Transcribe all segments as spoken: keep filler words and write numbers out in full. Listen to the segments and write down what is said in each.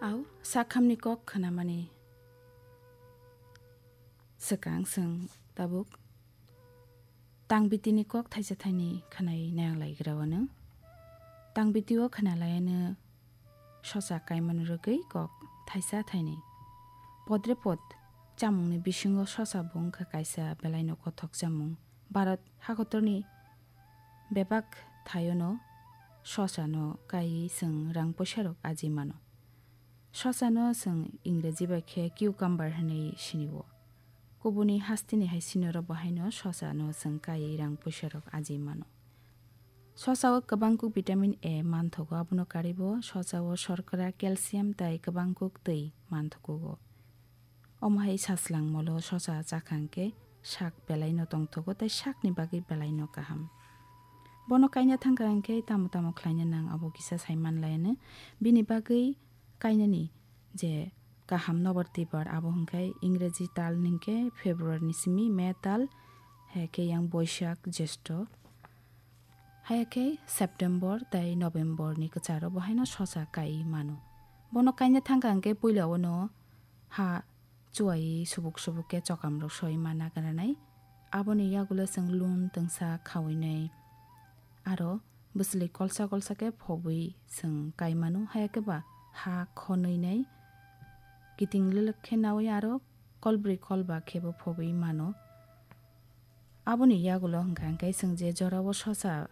Au sakhamni kok khnamani swkang chwng tabuk tangbitini kok thaisa thaini khnai nang lai gra wano. Tangbitio khna lai ano sosa kaimani rwgwi kok thaisa thaini. Podre pod chamungni bisingo sosa bo wngkha kaisa belaino kothok chamung. Bharat hakotorni bebak thaiono sosano kaiwi chwng rang poisa rok aji mano. Sosano chwng Ingreji bai khe cucumber hwnwi sinio. Kubuni hasteni hai sinorok bo haino sosano chwng kaiwi rang poisa rok aji mano. Sosao kwbangkuk vitamin A manthogo, abono karwibo sosao shorkra, calcium tei kwbangkuk twi manthogo. Omo hai saslang molo sosa chakha hwnkhe sak belaino tongthogo tei sakni bagwi belaino kaham. Bono kaina thangkha hwnkhe tamo tamo khlaina nang abo kisa sai manlaiano. Bini bagwi kainani je kaham nobar tibar abo hwnkhe Ingreji tal hwnkhe February ni simi May tal, hai khe yang Boishak, Jyeshtho, hai khe September tei November ni kwcharo bo haino sosa kai mano. Bono kaina thangkha hwnkhe puila ono ha chuai subuk subuk khe chokam rok soi ma nagranai. Aboni yagulo chwng lun twngsa khaui nai. Aro bwswlwi kolsa kolsa khe phobwi chwng kai mano, haya khe ba ha khonwi nai kiting lwlwk khe naui aro kolbrwi kolba khe bo phobwi mano. Aboni yagulo hwnkha hwnkhe chwng je jorao sosa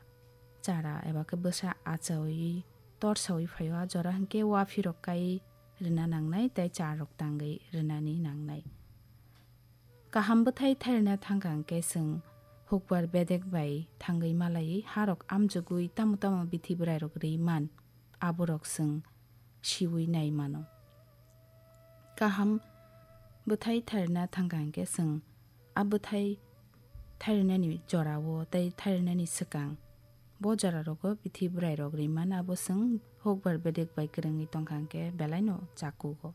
chara eba khe bwsa achaui torsaui phaio, a jora hwnkhe waphirok kai rwna nangnai tei charok tangwi rwnani nangnai. Kaham bwthai thairwna thangkha hwnkhe chwng hukbar bedek bai thangwi malaiwi harok amjogwi tamo tamo bithi bwrairok rwi man, aborok chwng siui nai mano. Kaham bwthai thairwna thangkha hwnkhe chwng a bwthai thairwnani jorao tei thairwnani swkang bo jorarogo bithi bwrairok rwi man, abo chwng hukbar bedek bai kwrwngwi tongkha hwnkhe belaino chakugo.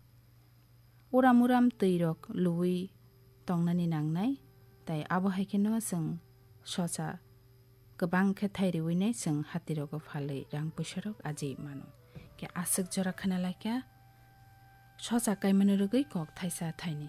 Uram uram twirok luwi tongnani nangnai, tei abo hai kheno chwng sosa kwbang khe thai riwi nai chwng hatirogo phalwi rang puisarok aji mano. Khe aswk jora khna lai kha sosa kaimani rwgwi kok thaisa thaini.